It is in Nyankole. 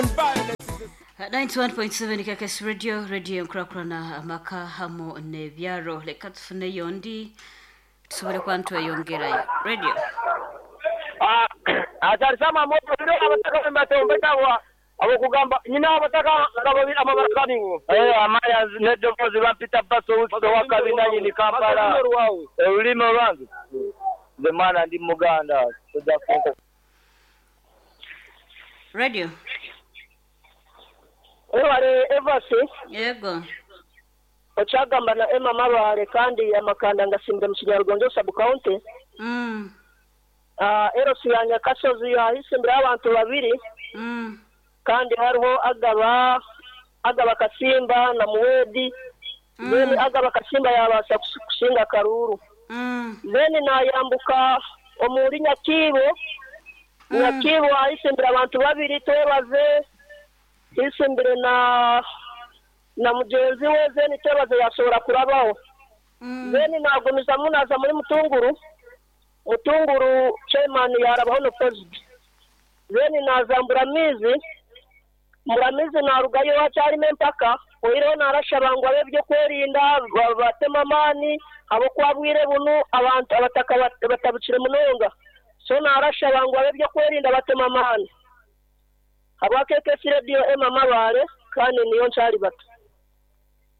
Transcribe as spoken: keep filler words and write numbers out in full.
Gun violence is a ninety-one point seven K K S Radio, radio nkurakurana amaka hamu n'ebyaro. Leka tufuneyo ndi tusobole kuba ntweyongerayo. Radio. Ah, atarisama moto biro abataka mbatombe abokugamba nyina abataka amabarakani ngo eh amaya nedovozi bampita baso wakabina nyini Kampala olulimi olwange nze mwana ndi Muganda tojja kunko. Radio. Ewale Evasi. Yego. Ochagamba na Emma Mabare kandi amakanda ngasimbira mu Kinyarwanda sub county. Mm. Ah, Erosi ya Nyakasozi yahisimbira abantu babiri. Mm. Kandi hariho agaba agaba Kasimba na Muwedi. Mm. Then agaba Kasimba yabasa kusinga Karuru. Mm. Then nayambuka omuri Nyakibo. Mm. Nyakibo ahisimbira abantu babiri twebaze isimbire na na mugenzi we then twebaze yashobora kurabaho. Mm. Then nagumiza munaza muri Mutunguru. Mutunguru chairman yarabaho no president. Then nazambura mizi muramizi narugayo hacyarimo empaka oireho narashabangwa byo kwerinda batema amani abo kwabwire bunu abantu abataka batabukire munonga so narashabangwa byo kwerinda batema amani aba K K S Radio Emma Mabare kandi niyo ncari bato.